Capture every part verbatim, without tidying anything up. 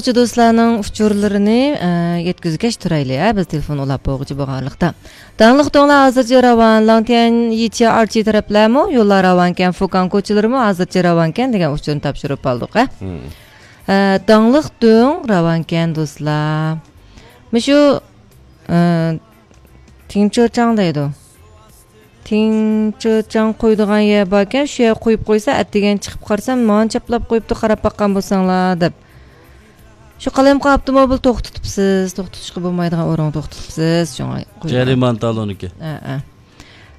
دوستلارنىڭ ئۇچۇرلىرىنى، ئە، يەتكۈزگەچ تۇرايلى، ھە، بىز تېلېفون ئۇلاپ بولغۇچە بولغانلىقتا. داڭلىق دۆڭلەر ھازىرچە راۋان، لاڭتيەن يىچيا ئارچى تەرەپلەرمۇ يوللار راۋانكەن، فۇكاڭ كوچىلىرىمۇ ھازىرچە راۋانكەن دېگەن ئۇچۇرنى تاپشۇرۇپ ئالدۇق، ھە. مم. ئە، داڭلىق دۆڭ راۋانكەن دوستلار. مۇشۇ، ئە، تىڭچېچاڭ دەيدۇ. تىڭچېچاڭ قويىدىغان يەر باركەن، شۇ يەرگە قويۇپ قويسا، ئەتىگەن چىقىپ قارىسام، ماڭا چاپلاپ قويۇپتۇ، قاراپ باققان بولساڭلار، دەپ. شۇ قالايمىقان ئاپتوموبىل توختىتىپسىز، توختىتىشقا بولمايدىغان ئورۇنغا توختىتىپسىز، شۇڭا قويدۇم. جەرىمانە تالونىكى. ھە، ھە.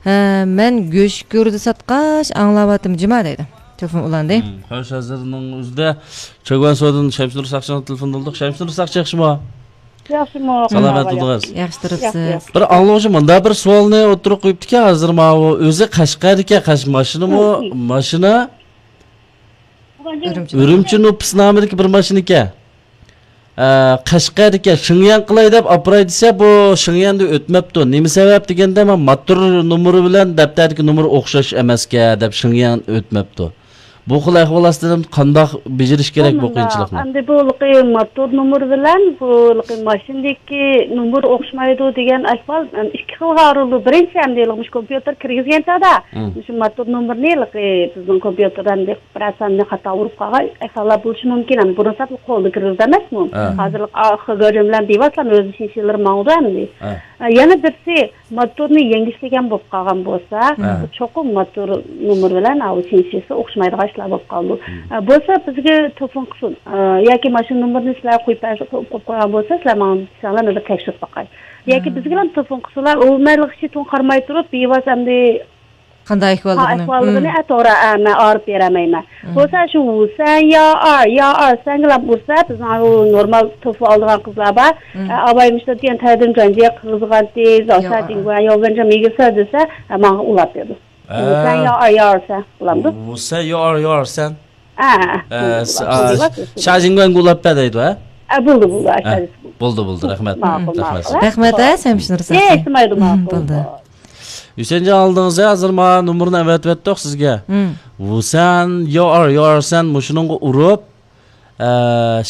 ھە، مەن گۆش گۆردە ساتقاچ ئاڭلاۋاتىمەن جۇما دەيدۇ. تېلېفون ئۇلاندى. مم، خوش، ھازىرنىڭ ئۆزىدە چۆگۈەن سودىن شەمسىنۇر ساقچىنىڭ تېلېفونى بولدۇق. شەمسىنۇر ساقچى ياخشىمۇ؟ ياخشىمۇ؟ سالامەت بولدىڭىز؟ ياخشى تۇرۇپسىز. ياخشى، ياخشى. بىر ئاڭلىغۇچى مۇنداق بىر سوئالنى ئوتتۇرىغا قويۇپتىكەن، ھازىر ماۋۇ ئۆزى قەشقەردىكەن، قەش-، ماشىنىمۇ، ماشىنا ئۈرۈمچى. ئۈرۈمچى نوپۇس نامىدىكى بىر ماشىنا ئىكەن. ئە، قەشقەردىكى شىڭيەن قىلاي دەپ ئاپىراي دېسە، بۇ شىڭيەندە ئۆتمەپتۇ. نېمە سەۋەب دېگەندە، مانا ماتور نومۇرى بىلەن دەپتەردىكى نومۇر ئوخشاش ئەمەسكەن دەپ شىڭيەن ئۆتمەپتۇ. بۇ خىل ئەھۋال ئاستىدا قانداق بېجىرىش كېرەك بۇ قىيىنچىلىقنى؟ ئەمدى بۇ ھېلىقى ماتور نومۇر بىلەن بۇ ھېلىقى ماشىنىدىكى نومۇر ئوخشىمايدۇ دېگەن ئەھۋال، ئەم، ئىككى خىلغا ئايرىلىدۇ. بىرىنچى، ئەمدى ھېلىقى مۇشۇ كومپيۇتېر كىرگۈزگەن چاغدا، مم، مۇشۇ ماتور نومۇرنى ھېلىقى بىزنىڭ كومپيۇتېردا ئەمدى بىرەر ساننى خاتا ئۇرۇپ قالغان ئەھۋاللار بولۇشى مۇمكىن. ئەمدى بۇرۇنسى قولدا كىرگۈزدى ئەمەسمۇ؟ ھە. ھازىر ئالگورىتم بىلەن بىۋاسىتە ئۆزى شىنشىلىرى ماڭىدۇ ئەمدى. ھە. ئە، يەنە بىرسى، ماتورنى يەڭگۈشلىگەن بولۇپ قالغان بولسا، ھە، چوقۇم ماتور نومۇرى بىلەن ئاۋۇ شىنشىسى ئوخشىمايدىغان ئىشلار بولۇپ قالىدۇ. مم. ئە، بولسا بىزگە تېلېفون قىلسۇن. ئە، ياكى ماشىنا نومۇرىنى سىلەر قويۇپ بەرسە، قويۇپ، قويۇپ قويغان بولسا، سىلەر ماڭا دېسەڭلار، مەن بىر تەكشۈرۈپ باقاي. ياكى، ھە، بىزگىلا تېلېفون قىلسىلا، ئۇ مەنلىك ئىشى تۇڭ قارىماي تۇرۇپ، بىۋاسىتە ئەمدى قانداق ھا، ئەھۋاللىقىنى؟ ئەھۋاللىقىنى، مم، ئە، توغرا، ئە، مەن ئايرىپ بېرەلمەيمەن. مم. بولسا شۇ ۋۇسەن يا ئار، يا ئار سەنگىلا ئۇرسا، بىزنىڭ ئۇ نورمال تېلېفون ئالىدىغان قىزلار بار. مم. ئە، ئاۋاي مۇشۇ دېگەن تەدىن جانجىق قىزغانتى، يا، زاۋسا ئا، تىڭگۇەن يا ۋەنجا مىگىسا دېسە، ئە، ماڭا ئۇلاپ بېرىدۇ. ئە، ۋۇسەن يا ئار، يا ئار سەن قىلامدۇ؟ ۋۇسەن يا ئار، يا ئار سەن. ئە، ئە، ئە، س-، ئە، شاجىڭگۈەنگە ئۇلاپ بەر دەيدۇ، ھە؟ ئە، بولدى، بولدى، ئە، ئە، شاجىڭ. بولدى، بولدى، رەھمەت. ماقۇل، رەھمەت. ماقۇل. رەھمەت، ھە، سەمشىنۇر ساقچى. ئېيتمايدۇ، مم، ماقۇل. بولدى. ھۈسەنجان، ئالدىڭىز ھازىر مانا نومۇرنى ئەۋەتىۋەتتۇق سىزگە. مم. ۋۇسەن يا ئار، يا ئار سەن مۇشۇنىڭغا ئۇرۇپ، ئە،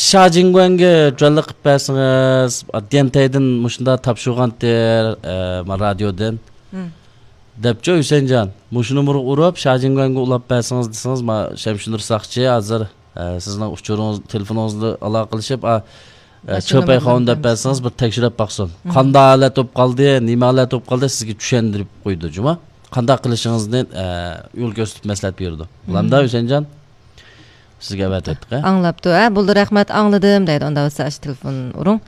شاجىڭگۈەنگە جۈەنلىك قىلىپ بەرسىڭىز، دىيەنتەيدىن مۇشۇنداق تاپشۇرغانتى، ئە، ما رادىيودىن. مم. دەپچۇ ھۈسەنجان، مۇشۇ نومۇرغا ئۇرۇپ، شاجىڭگۈەنگە ئۇلاپ بەرسىڭىز دېسىڭىز، ما شەمشىنۇر ساقچى ھازىر، ئە، سىزنىڭ ئۇچۇرىڭىز، تېلېفونىڭىزنى ئالاقىلىشىپ، ئا، ئە، ماشىنا چۆپەي نومۇرىنى خاۋۇن دەپ بەرسىڭىز، بىر تەكشۈرۈپ باقسۇن. مم. قانداق ھالەت بولۇپ قالدى، نېمە ھالەت بولۇپ قالدى، سىزگە چۈشەندۈرۈپ قويىدۇ، جۇما. قانداق قىلىشىڭىزنى، ئە، يول كۆرسىتىپ مەسلىھەت بېرىدۇ. بولامدا، مم، ھۈسەنجان؟ سىزگە ئەۋەتىۋەتتۇق، ھە؟ ئاڭلاپتۇ، ھە؟ بولدى، رەھمەت، ئاڭلىدىم دەيدۇ. ئۇنداق بولسا ئاشۇ تېلېفون ئۇرۇڭ.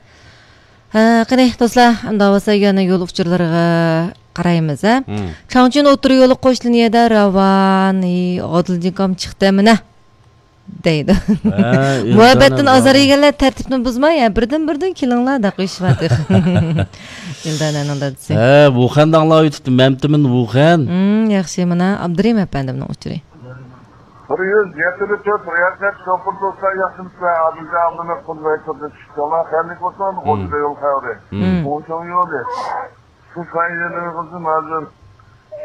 ھە، قېنى، دوستلار، ئۇنداق بولسا يەنە يول ئۇچۇرلىرىغا قارايمىز، ھە؟ مم. چاڭچۈن ئوتتۇرا يولى قوش لىنىيەدە راۋان، ھېي، ئادىلجىكام چىقتى مانا. دەيدۇ. ھە، مۇھەببەتتىن ئازار يېگەنلەر تەرتىپنى بۇزماي، يا بىردىن-بىردىن كېلىڭلار، دەپ قويۇشۇۋاتىدۇ. ئىلدانەنىڭ دادىسى. ھە، ۋۇخەندە ئاڭلاۋېتىپتۇ، مەمتىمىن ۋۇخەن. ھىم، ياخشى، مانا ئابدۇرېھىم ئەپەندىمنىڭ ئۇچۇرى. بىر يۈز يەتتە تۆت رىياسەت شوپۇر دوستلار، ياخشىمۇسىلەر؟ ئادىلجان ئابلىمىت قۇلبەي قىزى چىقىشىڭلار خەيرلىك بولسۇن. مم. غوجىدا يول خەۋىرى. مم. ئوڭشاڭ يولى. سىز سايىنلىرىڭىزنى ھازىر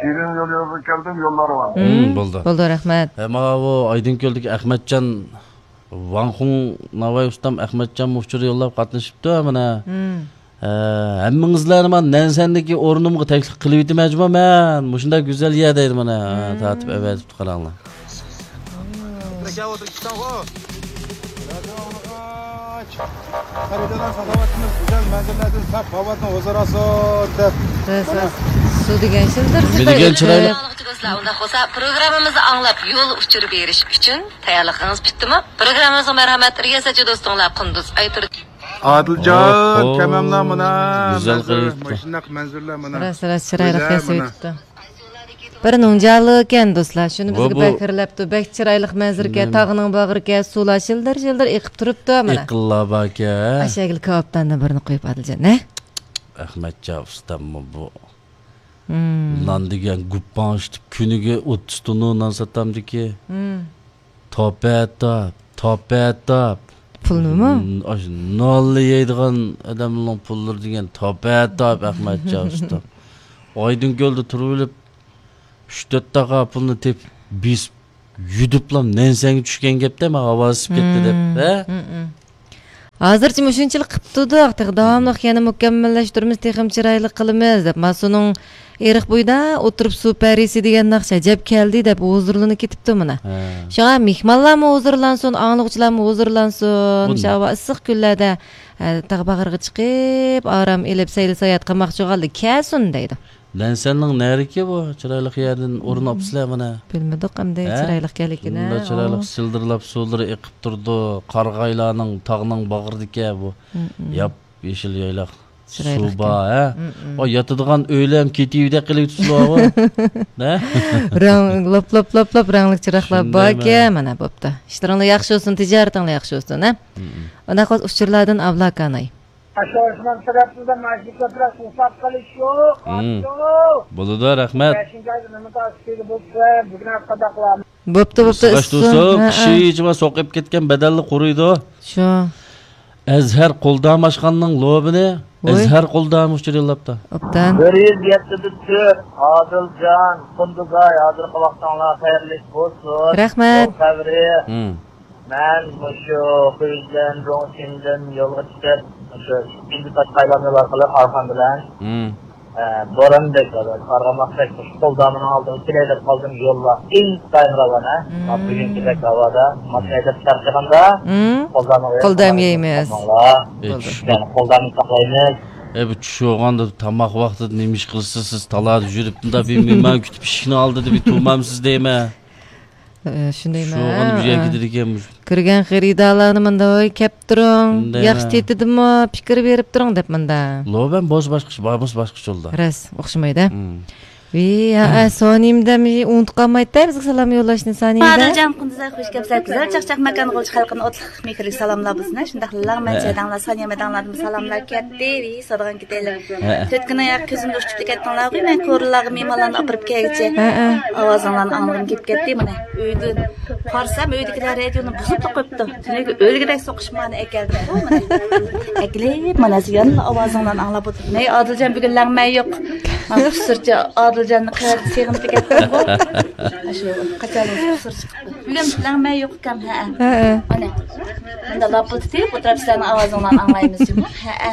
شېرىن يول يولىغا كەلدىم، يوللارغا. مم، بولدى. بولدى، رەھمەت. ھە، ماۋۇ ئايدىڭكۆلدىكى ئەخمەتجان، ۋاڭخۇڭ ناۋاي ئۇستام ئەخمەتجان ئۇچۇر يوللاپ قاتنىشىپتۇ، مانا. مم. ھە، ھەممىڭىزلەرنى مانا نەنسەندىكى ئورنۇمغا تەكلىپ قىلىۋېتىمەن جۇما مەن. مۇشۇنداق گۈزەل يەر دەيدۇ مانا. ھە، تارتىپ ئەۋەتىپتۇ قاراڭلار. خېرىدارلار ساخاۋەتىمىز گۈزەل مەنزىرىلەردىن ساق ھاۋادىن ھۇزۇر ئالسۇن دەپ. راست، راست. سۇ دېگەن شىلدىر، نېمە دېگەن چىرايلىق. دوستلار، ئۇنداق بولسا پروگراممىمىزنى ئاڭلاپ يول ئۇچۇرى بېرىش ئۈچۈن تەييارلىقىڭىز پۈتتىمۇ؟ پروگراممىمىزغا مەرھەمەت، رىياسەتچى دوستۇڭلار قۇندۇز ئايتۇر. ئادىلجان، ئوھو، كەمەملا مانا گۈزەل مەنزىرە، قىلىپتۇ. ماشۇنداق مەنزىرىلەر مانا. راست، راست، چىرايلىق ياسىۋېتىپتۇ. بىر نۇڭجالىكەن دوستلار، شۇنى بۇ، بىزگە بۇ بەك خىرلەپتۇ. بەك چىرايلىق مەنزىرىكەن، تاغنىڭ باغرىكەن، سۇلار شىلدىر-شىلدىر ئېقىپ تۇرۇپتۇ مانا. ئېقىنلار باركەن. ئاشەگىل كاۋاپتاندىن بىرنى قويۇپ ئادىلجان، ھە؟ ئەخمەتجان ئۇستاممۇ بۇ. مم. نان دېگەن گۇپپاڭ ئىشلىتىپ، كۈنىگە ئوتتۇز توننا نان ساتامدىكى. مم. تاپەتاپ، تاپەتاپ. پۇلنىمۇ؟ م، ئاشۇ نانلا يەيدىغان ئادەمنىڭ پۇللىرى دېگەن تاپەتاپ، ئەخمەتجان ئۇستا. ئايدىڭكۆلدە تۇرۇۋېلىپ، ئۈچ تۆت تاقا پۇلنى تېپىپ، بېسىپ، يۈدۈپلا نەنسەنگە چۈشكەن گەپتە، مانا ھاۋا ئىسسىپ كەتتى دەپ، ھە؟ مم، مم. ھازىرچە مۇشۇنچىلىك قىپ تۇردۇق، تېخى داۋاملىق يەنە مۇكەممەللەشتۈرىمىز، تېخىمۇ چىرايلىق قىلىمىز دەپ، مانا سۇنىڭ ئېرىق بويىدا ئولتۇرۇپ سۇ پەرىسى دېگەن ناخشا ئەجەب كەلدى دەپ ھۇزۇرلىنىپ كېتىپتۇ مانا. ھە. شۇڭا مېھمانلارمۇ ھۇزۇرلانسۇن، ئاڭلىغۇچىلارمۇ ھۇزۇرلانسۇن. مۇشۇ ھاۋا ئىسسىق كۈنلەردە، ئە، تاغ باغرىغا چىقىپ، ئارام ئېلىپ، سەيلە ساياھەت قىلماقچى بولغانلار كەلسۇن دەيدۇ. نەنسەننىڭ نەرىكى بۇ؟ چىرايلىق يەردىن ئورۇن ئاپسىلەر مانا. بىلمىدۇق ئەمدى، ھە؟ چىرايلىق ئىكەنلىكىنى. شۇنداق چىرايلىق، ئاۋۇ. سىلدىرلاپ سۇلىرى ئېقىپ تۇرىدۇ. قارىغايلارنىڭ، تاغنىڭ باغرىدىكى بۇ. ياپ يېشىل يايلاق. چىرايلىق سۇ بار، ھە؟ ئو، ياتىدىغان ئۆيلەر ھەم كېتىۋىدەك قىلىۋېتىپسىلەر، ھە؟ رەڭ، لوپ، لوپ، لوپ، لوپ، رەڭلىك چىراغلار باركەن، مانا بوپتۇ. ئىشلىرىڭلار ياخشى بولسۇن، تىجارىتىڭلار ياخشى بولسۇن، ھە؟ ئۇنداق بولسا ئۇچۇرلاردىن ئابلاكاناي. ئاشۇ ئوسمان تەرەپىمىزدە ماشىنا كۆپرەك توساپ قېلىش يوق. بولىدۇ، رەھمەت. بەشىنچى ئايدا نېمە تاسىكىگە بولسا، بۈگۈن ھەققىداقلار. بوپتۇ، بوپتۇ، سىباش ئىسسىن. تۇرسۇن، ھە، كىشى ھە. ئىچىما سوق ئېپ كەتكەن بەدەللا قۇرۇيدۇ. شۇ. ئەزھەر قولدام ئاشخانىنىڭ لوبىنى ۋوي. ئەزھەر قولدام ئۇچۇر يوللاپتۇ. ئوبدان. بىر يۈز يەتتە تۆت، ئادىلجان، قۇندىزاي، ھازىرقى ۋاقتىڭلار خەيرلىك بولسۇن. رەھمەت. يول خەۋىرى. مەن مۇشۇ خۇيزەن، روڭشېندىن يولغا چىقىپ، مۇشۇ ئىككىنچى تاشقايلام يول ئارقىلىق ئارخان بىلەن، ئە، بوران بەك، ئارغاماق بەك، مۇشۇ قولدامىنىڭ ئالدىغا كېلەي دەپ قالدىم. يوللار ئىنتايىن راۋان، ھە. مانا بۈگۈنكىدەك ھاۋادا ماشىنا ھەيدەپ چارچىغاندا قولدامىغا قولدام يەيمىز. يەنى قولدامنى ساقلايمىز. ئەي، بۇ چۈش بولغاندا تاماق ۋاقتىدا نېمە ئىش قىلىسىز سىز؟ تالادا يۈرۈپ، مۇنداق بىر مېھمان كۈتۈپ، ئىشىكنىڭ ئالدىدا بىر تۇرمامسىز دەيمەن. ئە، شۇندايمۇ؟ شۇ ئۇنى بىر يەرگە ئە. كېتىدىكەن. كۆرگەن خېرىدارلارنى مۇندا، ۋاي، كەپ تۇرۇڭ، شۇندايمۇ؟ ياخشى تېتىدىمۇ، پىكىر بېرىپ تۇرۇڭ دەپ مۇندا. لوبەن بولسا باشقىچە، بار بولسا باشقىچە يولدا. راست، ئوخشىمايدۇ. ۋى، ھە، ئە، سونىمدە مى-، ئۇنتۇپ قالمايتتى بىزگە سالام يوللاشنى سونىمدە. ئادىلجان قۇندىزاي، خۇش كەپسىلەر، گۈزەل چاقچاق ماكان غۇلجا خەلقىنى ئوتلۇق مېھىرلىك سالاملاپ بولسۇن. شۇنداقلا لەڭمەن چەدەڭلار، سانىيە مەدەڭلاردىن سالاملار كەتتى، ۋى، سادىغان كېتەيلى. ھەئە. تۆت كۈن ئاياغ كۆزۈمدە ئۇچۇپ كېتىڭلارغۇ، مەن كورلىلارغا مېھمانلارنى ئاپىرىپ كەلگۈچە ھەئە. ئاۋازىڭلارنى ئاڭلىغۇم كېلىپ كەتتى. مانا ئۆيدىن قارىسام، ئۆيدىكىلەر رادىيونى بۇزۇپلا قويۇپتۇ. تۈنۈگۈن ئۆلگۈدەك سوقۇشمانى ئەكەلدىم. ئۇ مانا ئەكېلىپ، مانا يەنىلا ئاۋازىڭلارنى ئاڭلاپ ئولتۇردۇم. ھەي ئادىلجان، بۈگۈن لەڭمەن يوق. مانا قۇسۇرچى ئادىلجاننى قەۋەتكە سېغىنىپ كەتتىمغۇ. شۇ قاچان قۇسۇر چىقىپتۇ. بۈگۈن لەڭمەن يوق ئۇكام، ھەئە. ھەئە. مانا مۇنداق لاپىلدىتىپ ئولتۇرۇپ سىلەرنىڭ ئاۋازىڭلارنى ئاڭلايمىز جۇمۇ. ھەئە،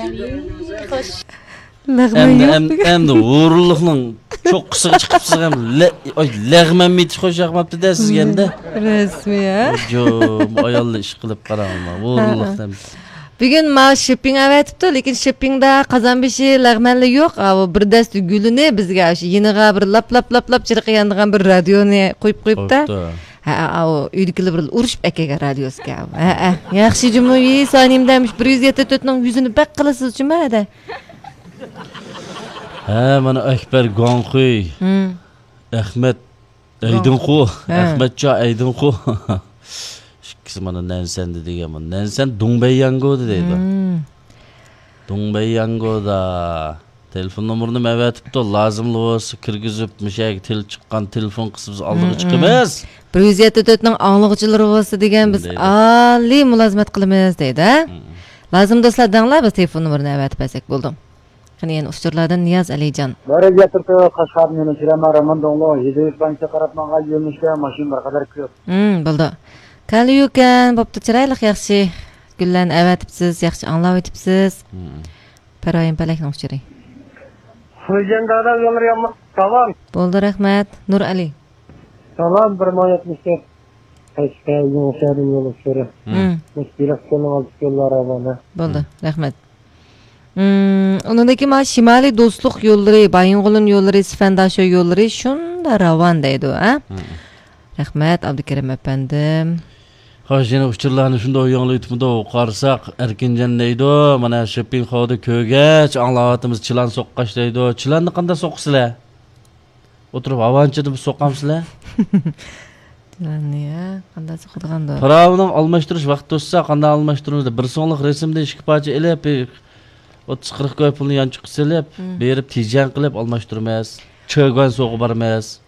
خوش. لەغمەن ئەمدى، يوق ئەم-، بۈگۈن. ئەمدى ھۇرۇنلۇقنىڭ چوققىسىغا چىقىپسىز ئەمدى. لە-، ئاي، لەغمەن مېتىش خوش ياقماپتۇ-دە سىزگە ئەمدى. رەسمىي، ھە؟ جۇم، ئاياللار ئىش قىلىپ قاراڭلار. ھۇرۇنلۇق ھە. ئەمدى. بۈگۈن ماۋۇ شېپپىڭ ئەۋەتىپتۇ، لېكىن شېپپىڭدا قازانبېشى لەغمەنلا يوق. ئاۋۇ بىر دەستە گۈلىنى بىزگە شۇ يېنىغا بىر لاپ، لاپ، لاپ، لاپ چىرىقى يانىدىغان بىر رادىيونى قويۇپ قويۇپتۇ. بوپتۇ. ھە، ئاۋۇ ئۆيدىكىلەر بىر ئۇرۇشۇپ ئەكەلگەن رادىيوسىكەن. ھە، ھە. ياخشى جۇمۇ، ۋى، سانىمدە مۇشۇ بىر يۈز يەتتە تۆتنىڭ يۈزىنى بەك قىلىسىز جۇمۇ، ھەدە. ھە، مانا ئەكبەر گۇاڭخۇي، ھىم. ئەخمەت ئەيدىنخۇ، ھە. ئەخمەتجان ئەيدىنخۇ. ئىككىسى مانا نەنسەندە دېگەن، مانا نەنسەن دۇڭبەيياڭگودا دەيدۇ. ھىم. دۇڭبەيياڭگودا. تېلېفون نومۇرىنى ئەۋەتىپتۇ، لازىملا بولسا كىرگۈزۈپ، مۇشۇ يەرگە تېلېپ چىققان تېلېفون قىلسا بىز ئالدىغا ھىم، چىقىمىز. ھىم. بىر يۈز يەتتە تۆتنىڭ ئاڭلىغۇچىلىرى بولسا دېگەن، بىز دەيدۇ. ئالىي مۇلازىمەت قىلىمىز دەيدۇ، ھە؟ ھىم. لازىم دوستلار دەڭلار، بىز تېلېفون نومۇرىنى ئەۋەتىپ بەرسەك بولدى. قېنى يەنە ئۇچۇرلاردىن نىياز ئەلىجان. بارىز ياتىرتى قەشقەردىن يەنە كىرەمەن، راماندوڭلۇ، يېزا يۇرتلارنى قاراپ ماڭغان يۆنىلىشتە ماشىنا بىر قەدەر كۆپ. ھىم، بولدى. كالىيۇكەن، بوپتۇ، چىرايلىق، ياخشى. گۈللەرنى ئەۋەتىپسىز، ياخشى ئاڭلاۋېتىپسىز. ھىم. پەرۋايىم پەلەكنىڭ ئۇچۇرى. خوجان دادا يوللىرى ياملىق. سالام. بولدى، رەھمەت. نۇرئەلى. سالام، بىر مىڭ يەتمىش تۆت. قەشقەر، يېڭىشەھەردىن يول ئۇچۇرى. ھىم. مۇشۇ بېلىق كۆلنىڭ ئالدىدىكى يوللار راۋان. بولدى، ھىم. رەھمەت. ھىم، ئۇنىڭدىن كېيىن مانا شىمالىي دوستلۇق يوللىرى، بايىنغولىن يوللىرى، سىفەنداشو يوللىرى شۇنداق راۋان دەيدۇ، ھە؟ ھىم. رەھمەت، ئابدۇكېرىم ئەپەندىم. خوش، يەنە ئۇچۇرلارنى شۇنداق ياڭلىۋېتىپمىدۇ، قارىساق، ئەركىنجان دەيدۇ، مانا شېپپىڭ خاۋدا كۆرگەچ ئاڭلاۋاتىمىز، چىلان سوققاچ دەيدۇ. چىلاننى قانداق سوقىسىلەر؟ ئولتۇرۇپ ھاۋانچىدا بىر سوقامسىلەر؟ چىلاننى، ھە، قانداق سوقىدىغاندۇ؟ پىراۋىنىڭ ئالماشتۇرۇش ۋاقتى توشسا، قانداق ئالماشتۇرىمىز دەپ، بىر سوڭلۇق رەسىمدىن ئىككى پارچە ئېلىپ، بىر ئوتتۇز قىرىق كوي پۇلنى يانچۇققا سېلىپ، ھىم. بېرىپ تىجەن قىلىپ ئالماشتۇرىمىز. چېگۇەنسوغا بارىمىز.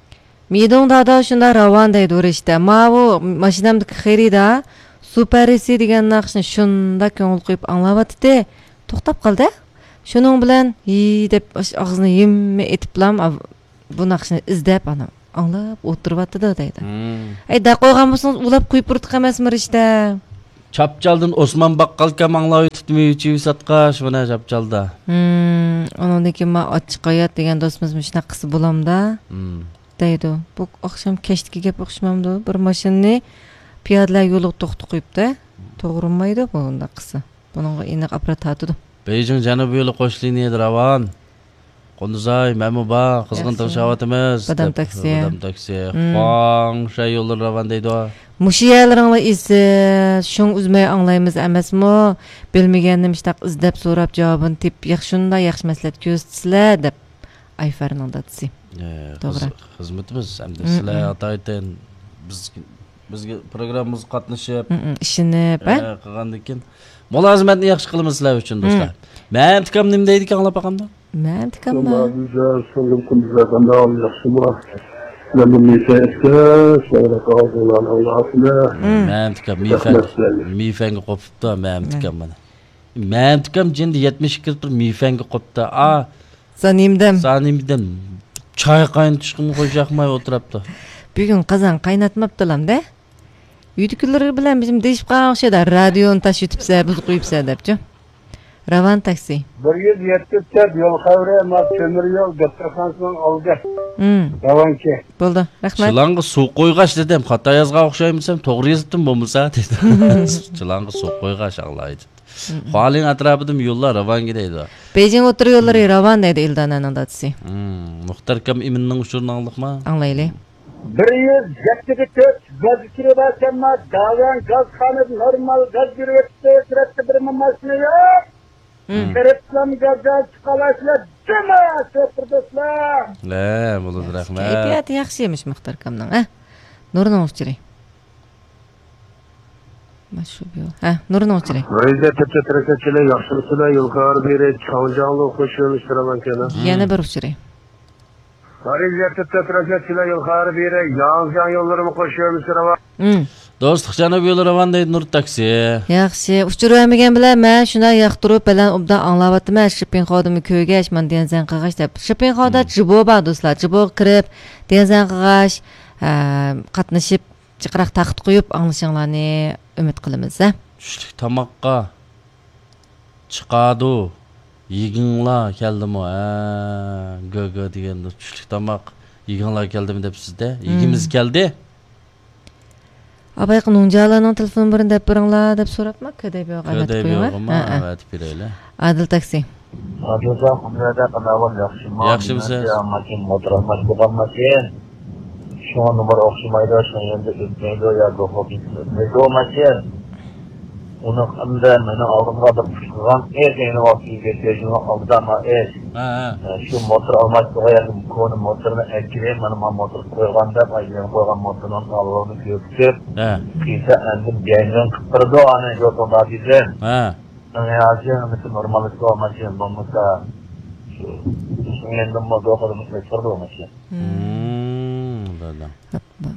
مىدۇڭ دادا شۇنداق راۋان دەيدۇ رىشتە. ماۋۇ ماشىنامدىكى خېرىدار سۇ پەرىسى دېگەن ناخشىنى شۇنداق كۆڭۈل قويۇپ ئاڭلاۋاتىتتى. توختاپ قالدى. شۇنىڭ بىلەن ھى دەپ ئاش-، ئاغزىنى ھىممە ئېتىپلام، ئاۋ-، بۇ ناخشىنى ئىزدەپ ئانا ئاڭلاپ ئولتۇرۇۋاتىدۇ دەيدۇ. ھىم. ئەي، دەپ قويغان بولسىڭىز ئۇلاپ قويۇپ بۇرۇتۇق ئەمەسمۇ رىشتە؟ چاپچالدىن ئوسمان باققالكام ئاڭلاۋېتىپتىمۇ، يۈچۈۋى ساتقاش، مانا چاپچالدا. ھىم، ئۇنىڭدىن كېيىن ما ئاچچىق ھايات دېگەن دوستىمىز مۇشۇنداق قىلسا بولامدا؟ ھىم. دەيدۇ. بۇ ئاخشام كەچتىكى گەپ ئوخشىمامدۇ؟ بىر ماشىنىنى پىيادىلەر يولىغا توختىتىپ قويۇپتۇ. توغرىمايدۇ بۇ ئۇنداق قىلسا. بۇنىڭغا ئېنىق ئاپپارات تارتىدۇ. بېيجىڭ جەنۇبىي يولى قوش لىنىيەدە راۋان. قۇندۇزاي، مەنمۇ بار. قىزغىن ياخشى. تىڭشاۋاتىمىز، بادام دەپ، تاكسى. بادام تاكسى. ھىم. خۇاڭشەن يوللىرى راۋان دەيدۇ. مۇشۇ يەرلىرىڭلار ئېسىل، شۇڭ ئۈزمەي ئاڭلايمىز ئەمەسمۇ؟ بىلمىگەننى مۇشۇنداق ئىزدەپ سوراپ، جاۋابىنى تېپىپ، ياخشى، شۇنداق ياخشى مەسلىھەت كۆرسىتىسىلەر، دەپ ئايفەرنىڭ دادىسى. ئە، توغرا. خىز-، خىزمىتىمىز ئەمدى. مم، سىلەر مم. ئاتايتىن بىز، بىزگە پروگراممىمىزغا قاتنىشىپ، مم، مم، ئىشىنىپ، ئە، ھە؟ قىلغاندىن كېيىن مۇلازىمەتنى ياخشى قىلىمىز سىلەر ئۈچۈن، دوستلار. مم. مەمتىكام نېمە دەيدىكەن، ئاڭلاپ باقامدۇ؟ مەمتىكام ما؟ سىڭلىم قۇندۇزەي قانداق، ياخشىمۇ؟ مەندىن مىفەن ئىستە، شۇڭلاشقا ئالدىڭلارنى ئاڭلاۋاتىمەن. مم. مەمتىكام، مىفەن، رەھمەت سىلەرگە. مىفەنگە قوپۇپتۇ، مەمتىكام مانا. مەمتىكام جېنىدا يەتمىش ئىككى لىتىر مىفەنگە قوپتۇ. ئا، سانىمدەم. سانىمدەم. چاي قاينىتىشقىمۇ خۇش ياقماي ئولتۇرۇپتۇ. بۈگۈن قازان قايناتماپتىلام-دە. ئۆيدىكىلىرى بىلەن بىزمۇ دېيىشىپ قالغان ئوخشايدۇ. رادىيونى تاشلىۋېتىپسە، بۇزۇپ قويۇپسە دەپچۇ. راۋان تاكسى. بىر يۈز يەتمىش تۆت يول خەۋىرى، ما تۆمۈر يول دوختۇرخانىسىنىڭ ئالدى. مم. راۋانچى. بولدى، رەھمەت. چىلانغا سۇ قويغاچ دېدىم، خاتا يازغان ئوخشايمىسەم، توغرا يېزىپتىم بولمىسا دېدى. چىلانغا سۇ قويغاچ ئاڭلايدۇ. مم. خۇالىڭ ئەتراپىدىمۇ يوللار راۋانگە دەيدۇ. بېيجىڭ ئوتتۇرا يوللىرى راۋان دەيدۇ ئىلدانەنىڭ دادىسى. مم. مۇختەر ئاكام ئىمىننىڭ ئۇچۇرىنى ئاڭلىدىڭلارمۇ؟ ئاڭلايلى. بىر يۈز يەتتە تۆت گاز ئۇچۇرى بار ئەمما داۋان گازخانىدا نورمال گاز بېرىۋېتىپتۇ، سۈرەتتە بىرمۇ ماشىنا يوق. مم. بېرىپلام گازدان چىقالاشلار جاما شوپۇر دوستلار. ھە، بولىدۇ، رەھمەت. كەيپىياتى ياخشى ئىمىش مۇختەر ئاكامنىڭ، ھە؟ نۇرنىڭ ئۇچۇرى. ماشۇ بۇ. ھە، نۇرنىڭ ئۇچۇرى. رىزە تۆت تۆت رەكەتچىلەر ياخشىلىقسىلەر يول خارى بېرى چاڭجاڭلۇ خۇشيۆنۈش سىرىلەنكەنە. يەنە بىر ئۇچۇرى. رىزە تۆت تۆت رەكەتچىلەر يول خارى بېرى ياڭجياڭ يوللىرىمۇ خۇشيۆنۈش سىرىلەن. مم. دوستلۇق جەنۇب يولى راۋان دەيدۇ نۇر تاكسى. ياخشى، ئۇچۇر بەرمىگەن بىلەن مەن شۇنداق ياقتۇرۇپ بەلەن ئوبدان ئاڭلاۋاتىمەن. شىپىنخودىمۇ كۆرگەچ، مانا دېڭزەن قىلغاچ دەپ. شىپىنخودا مم. جىبو بار دوستلار. جىبوغا كىرىپ، دېڭزەن قىلغاچ، ئە، قاتنىشىپ، جىقراق تاختا قويۇپ ئاڭلىشىڭلارنى ئۈمىد قىلىمىز، ھە. چۈشلۈك تاماققا چىقادۇ. يېگىڭلار كەلدىمۇ؟ ھە، گۆ گۆ دېگەندۇ. چۈشلۈك تاماق يېگىڭلار كەلدىمۇ دەپ سىزدە. مم. يېگىمىز كەلدى. ئابايقا نۇڭجالانىڭ تېلېفون نومۇرىنى دەپ بېرىڭلار دەپ سوراپما؟ كۆدەي بىيوغا ئەۋەتىپ كۆدەي قويۇڭ، ھە؟ بىيوغىمۇ ھە، ھە. ئەۋەتىپ بېرەيلى. ئادىل تاكسى. ئادىلجان، قۇدرەت قانداق ئەھۋال، ياخشىمۇ؟ ياخشىمۇسىز؟ ماشىنا، موتور ئالماس بولغان ماشىنا. شۇڭا نومۇر ئوخشىمايدۇ، شۇنىڭ يېنىدا ئۆتمەيدۇ ياكى خوپ ئۆتمەيدۇ ماشىنا. ئۇنى ئەمدى مېنىڭ ئالدىمغا بىر قىلغان ئىش، ئەينى ۋاقىتتا يىگىرمە بەش يىلنىڭ ئالدىدا ما ئىش. ھە، ھە. ئە، شۇ موتور ئالماس بولغان ياكى كونا موتورنى ئەكىرىپ، مانا ما موتور قويغان دەپ، ئايلىنىپ قويغان موتورنىڭ تالونىنى كۆرسىتىپ، ھە. قىلسا ئەمدى بەنزىن قىلىپ بېرىدۇ، ئانى يوتۇندا دېدىم. ھە. ئەڭ ياخشى ئەمىسى نورمال ئىش بولغان ماشىنا بولمىسا، شۇ، شۇ مەندىن بولدى، قولىمىز قىلىپ تۇرىدۇ ماشىنا. مم، بىلدىم.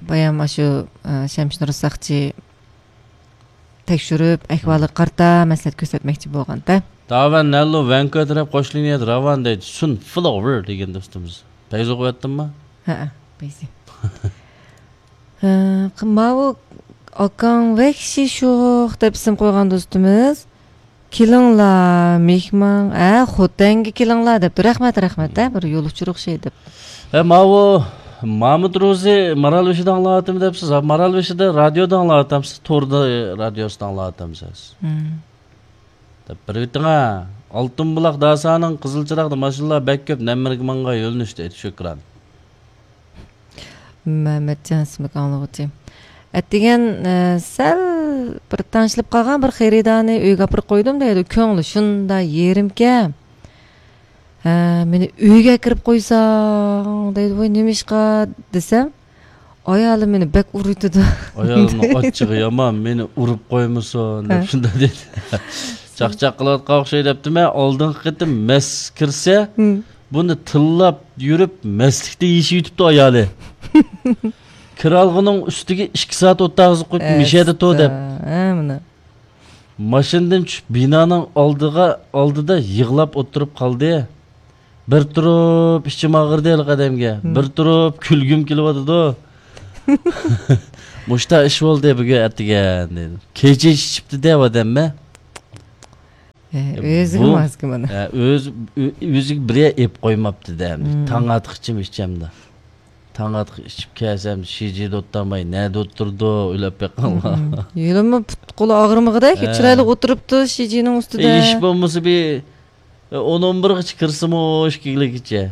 بايام شۇ، ئە، شەمشىنۇر ساقچى تەكشۈرۈپ، ئەھۋالىغا قارىتا مەسلىھەت كۆرسەتمەكچى بولغانتە. داۋەن نەللۇ ۋەنكۆ تەرەپ قوش لىنىيەدە راۋان دەيدۇ. سۇن فلوۋېر دېگەن دوستىمىز. پەيزۇغا ئۆتتۈممۇ؟ ھەئە، پەيزى. ھە، ماۋۇ ئاكاڭ ۋەھشىي شوخ دەپ ئىسىم قويغان دوستىمىز. كېلىڭلار، مېھمان، ھە، خوتەنگە كېلىڭلار دەپتۇ. رەھمەت، رەھمەت، ھە، بىر يول ئۇچۇر ئوخشايدۇ دەپ. ھە، ماۋۇ مامۇت روزى مارالبېشىدا ئاڭلاۋاتىمەن دەپسىز. مارالبېشىدا رادىيودا ئاڭلاۋاتامسىز؟ توردا رادىيوسىدا ئاڭلاۋاتامسىز؟ مم. دەپ بېرىۋېتىڭە. ئالتۇن بۇلاق داسانىڭ قىزىل چىراغدا ماشىنىلار بەك كۆپ، نەممىرىگە ماڭغان يۆنىلىشتە ئېيتىش ئۆكران. مەمەتجان ئىسىملىك ئاڭلىغۇچى. ئەتىگەن، ئە، سەل بىر تەڭشىلىپ قالغان بىر خېرىدارنى ئۆيگە ئاپىرىپ قويدۇم دەيدۇ. كۆڭلى شۇنداق يېرىمكەن. ھە، مېنى ئۆيگە ئەكىرىپ قويساڭ دەيدۇ. ۋاي، نېمىشقا دېسەم، ئايالىم مېنى بەك ئۇرۇۋېتىدۇ. ئايالىمنىڭ ئاچچىقى يامان، مېنى ئۇرۇپ قويمىسۇن دەپ ھە. شۇنداق دېدى. چاقچاق قىلىۋاتقان ئوخشاي دەپتىمەن. ئالدىنقى قېتىم مەس كىرسە، ھىم. بۇنى تىللاپ يۈرۈپ، مەستلىكتە يېشىۋېتىپتۇ ئايالى. كىرئالغۇنىڭ ئۈستىگە ئىككى سائەت ئولتۇرغۇزۇپ قويۇپتۇ، مۇشۇ يەردە تۇر دەپ. ئەستا، ھە، مانا. ماشىنىدىن چۈشۈپ، بىنانىڭ ئالدىغا، ئالدىدا يىغلاپ ئولتۇرۇپ قالدى. بىر تۇرۇپ ئىچىم ئاغرىدى ھېلىقى ئادەمگە، ھىم. بىر تۇرۇپ كۈلگۈم كېلىۋاتىدۇ. مۇشتا ئىش بولدى بۈگۈن ئەتىگەن دېدى. كېچە ئىچىپتۇ دە ئادەممە. ئۆزىگە بۇ ماسكا مانا. ئۆز، ئۆ-، ئۆزىگە بىر يەر ئېلىپ قويماپتۇ دە. تاڭ ئاتقىچىمۇ ئىچەمدۇ. تاڭ ئاتقا ئىچىپ كەلسەم، شىجى دوتتاماي نەدە ئولتۇردۇ، ئۆيلەپ بېقىڭلار. يولىمۇ پۇت-قولى ئاغرىمىغۇدەك، چىرايلىق ئولتۇرۇپتۇ شىجىنىڭ ئۈستىدە. ئىش بولمىسا بىر ئون، ئون بىرغىچە كىرسىمۇ، ئىككىگىلىكىچە.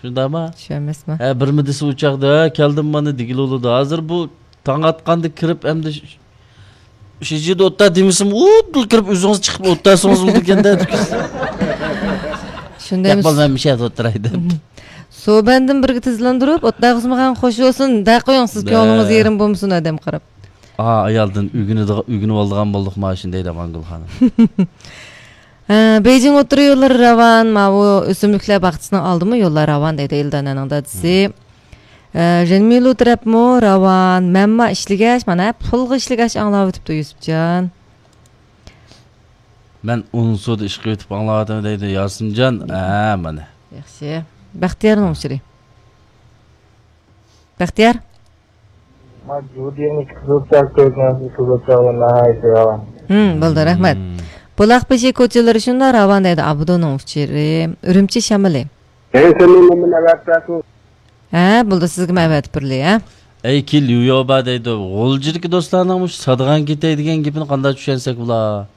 شۇنداقما؟ شۇ ئەمەسمۇ؟ ھە، بىرمۇ دېسە ئۇ چاغدا، ھە، كەلدىم مانا دېگىلى بولىدۇ. ھازىر بۇ تاڭ ئاتقاندا كىرىپ، ئەمدى ش-، شىجىدا ئولتۇر دېمىسىمۇ، ئۇدۇل كىرىپ ئۆزىڭىز چىقىپ ئولتۇرسىڭىز بولىدىكەن-دە. شۇنداق ئەمەس. ياق، بولماي مىشەدە ئولتۇراي دەپ. سوبەندىن بىرگە تېزلاندۇرۇپ، ئولتۇرغۇزمىغان خوش بولسۇن، دە قويۇڭ، سىز كۆڭلىڭىز يېرىم بولمىسۇن، ئادەم قاراپ. ئا، ئايالدىن ئۆگىنىدىغان، ئۆگىنىۋالىدىغان بولدۇق ما شۇندايدا، ماڭگۈل خانىم. ھە، بېيجىڭ ئوتتۇرا يوللىرى راۋان، ماۋۇ ئۆسۈملۈكلەر باغچىسىنىڭ ئالدىمۇ يوللار راۋان دەيدۇ ئېلدانەنىڭ دادىسى. ھە، ژېنمىلۇ تەرەپمۇ راۋان، مەنما ئىشلىگەچ، مانا پۇلغا ئىشلىگەچ ئاڭلاۋېتىپتۇ يۈسۈپجان. مەن ئونسۇدا ئىش قىلىۋېتىپ ئاڭلاۋاتىمەن دەيدۇ ياسىنجان. ھە، مانا. ياخشى. بەختىيارنىڭ ئۇچۇرى. بەختىيار. ما جۇدىنى قىزىلچا كۆرگەنسىز، قىزىلچا ناھايىتى يامان. ھىم، بولدى، رەھمەت. بۇلاق بېشى كوچىلىرى شۇنداق راۋان دەيدۇ ئابدۇنىڭ ئۇچۇرى. ئۈرۈمچى شامىلى. ھە، بولدى، سىزگىمۇ ئەۋەتىپ بېرىلى، ھە؟ ئەي، كىل يۇيوبا دەيدۇ. غۇلجىدىكى دوستلارنىڭ مۇشۇ سادىغان كېتەي دېگەن گېپىنى قانداق چۈشەنسەك بولا؟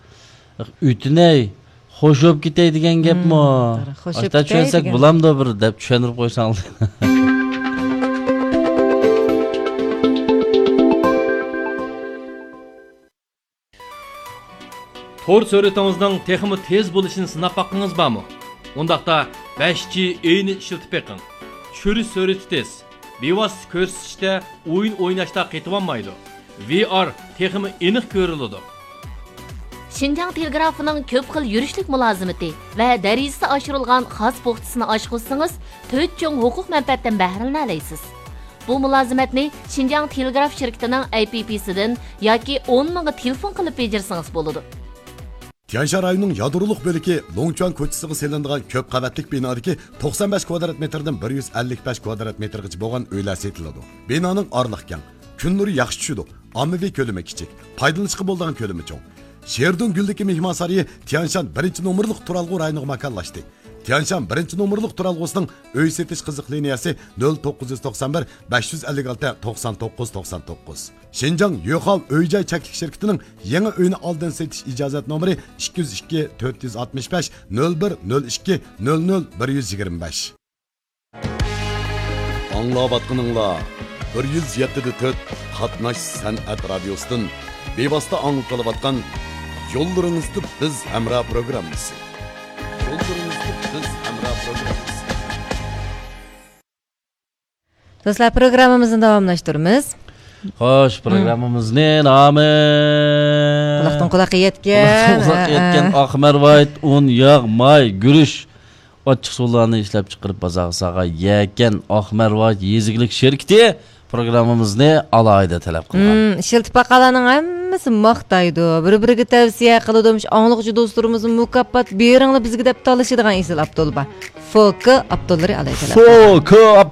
ئۆتۈنەي، خوش بوپ كېتەي دېگەن گەپمۇ؟ ئاشتا چۈشەنسەك بولامدۇ بىر دەپ چۈشەندۈرۈپ قويساڭلار. تور سۈرئىتىڭىزنىڭ تېخىمۇ تېز بولۇشىنى سىناپ باققىڭىز بارمۇ؟ ئۇنداقتا بەش جى ئېينى ئىشلىتىپ بېقىڭ. چۈشۈرۈش سۈرئىتى تېز. بىۋاسىتە كۆرسىتىشتە ئويۇن ئويناشتا قېتىۋالمايدۇ. ۋى ئار تېخىمۇ ئېنىق كۆرۈلىدۇ. شىنجاڭ تېلېگرافىنىڭ كۆپ خىل يۈرۈشلۈك مۇلازىمىتى ۋە دەرىجىسى ئاشۇرۇلغان خاس پوختىسىنى ئاشقۇزسىڭىز، تۆت چوڭ ھوقۇق مەنپەئەتتىن بەھرىلىنەلەيسىز. بۇ مۇلازىمەتنى شىنجاڭ تېلېگراف شىركىتىنىڭ ئەي پى پىسىدىن ياكى ئون مىڭغا تېلېفون قىلىپ بېجىرسىڭىز بولىدۇ. تيەنشان رايونىنىڭ يادرولۇق بۆلىكى لوڭچۈەن كوچىسىغا سېلىنىدىغان كۆپ قەۋەتلىك بىنادىكى توقسان بەش كۋادرات مېتىردىن بىر يۈز ئەللىك بەش كۋادرات مېتىرغىچە بولغان ئۆيلەر سېتىلىدۇ. بىنانىڭ ئارىلىقى كەڭ، كۈن نۇرى ياخشى چۈشىدۇ، ئاممىۋى كۆلىمى كىچىك، پايدىلىنىشقا بولىدىغان كۆلىمى چوڭ. شېردۇڭ گۈلدىكى مېھمانسارىيى تيەنشان بىرىنچى نومۇرلۇق تۇرالغۇ رايونىغا ماكانلاشتى. تيەنشان بىرىنچى نومۇرلۇق تۇرالغۇسىنىڭ ئۆي سېتىش قىزىق لىنىيەسى نۆل توققۇز يۈز توقسان بىر، بەش يۈز ئەللىك ئالتە، توقسان توققۇز، توقسان توققۇز. شىنجاڭ يۆخاۋ ئۆي جاي چەكلىك شىركىتىنىڭ يېڭى ئۆينى ئالدىن سېتىش ئىجازەت نومۇرى ئىككى يۈز ئىككى، تۆت يۈز ئاتمىش بەش، نۆل بىر، نۆل ئىككى، نۆل نۆل، بىر يۈز يىگىرمە بەش. ئاڭلاۋاتقىنىڭلار بىر يۈز يەتتە دە تۆت قاتناش سەنئەت رادىيوسىدىن بىۋاسىتە ئاڭلىتىلىۋاتقان يوللىرىڭىزدا بىز ھەمراھ پروگراممىسى. يوللىرىڭىزدا بىز ھەمراھ پروگراممىسى. دوستلار، پروگراممىمىزنى داۋاملاشتۇرىمىز. خوش، پروگراممىمىزنى نامى قۇلاقتىن قۇلاققا يەتكەن. قۇلاقتىن قۇلاققا يەتكەن ئاق مەرۋايىت، ئۇن، ياغ، ماي، گۈرۈچ، ئاچچىقسۇلارنى ئىشلەپچىقىرىپ بازارغا سالغان يەكەن ئاق مەرۋايىت يېزا ئىگىلىك شىركىتى پروگراممىمىزنى ئالاھىدە تەلەپ قىلغان. ئىشلىتىپ باققانلارنىڭ ھەممىسى ماختايدۇ، بىر-بىرىگە تەۋسىيە قىلىدۇ. مۇشۇ ئاڭلىغۇچى دوستلىرىمىزمۇ مۇكاپات بېرىڭلار بىزگە دەپ تالىشىدىغان ئېسىل ئاپتول بار. فوكا ئاپتوللىرى ئالاھىدە تەلەپ قىلغان. فوكا